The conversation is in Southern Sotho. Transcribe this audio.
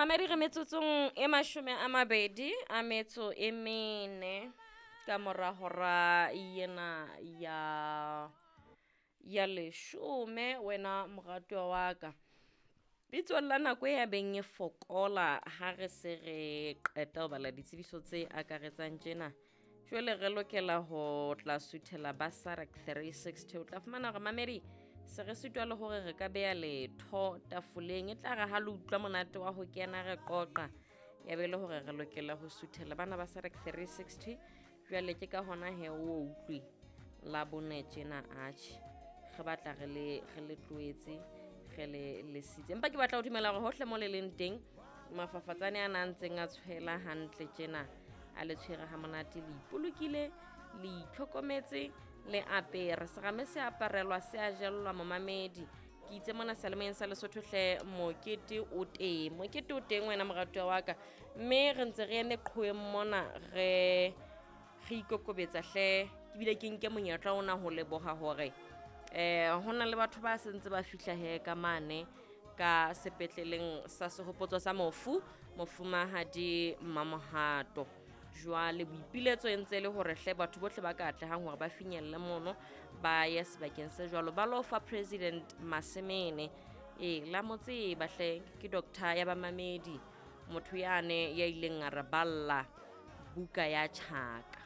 Mamedi, re metsotsong e 24 ka mora hora ena ya 10. Wena moratuwa wa ka, bitsong la nako e ya beng e fokola ha re se re qeta ho bala ditsebiso tse akaretsang tjena, jwale re lokela ho tla suthela ba SADC 360. O tla fumana hore, mamedi, se re sitwa le hore re ka beha letho tafoleng. E tla re ha le utlwa monate wa ho kena re qoqa, ya be le hore re lokela ho suthela bana ba SADC 360. Jwale ke ka hona he o utlwe la bone tjena, atjhe, re batla re le tlohetse, re le lesitse, empa ke batla ho dumela hore hohle mo le leng teng, mafafatsane a na ntseng a tshwela hantle tjena, a le tshwere ha monate, le ipolokile, le itlhokometse, le apere serame se aparelwa se a jellwa. Momamedi, ke itse mona seyalemoyeng sa Lesotho hle, mokete o teng, mokete o teng, wena moratuwa wa ka, mme re ntse re eme qhoweng mona, re ikokobetsa hle. Ke bile ke nke monyetla ona ho leboha hore ho na le batho ba sentse ba fihla he ka mane ka sepetleleng sa sehopotso sa mofu mofumahadi Mamohato. Jwale boipiletso e ntse e le hore hle batho bohle ba ka atlehang hore ba finyelle mono, ba ye sebakeng se jwalo, ba lo fa President Masemene. Ee, la mo tseba hle, ke doctor ya bamamedi, motho yane ya ileng a re balla buka ya Tjhaka.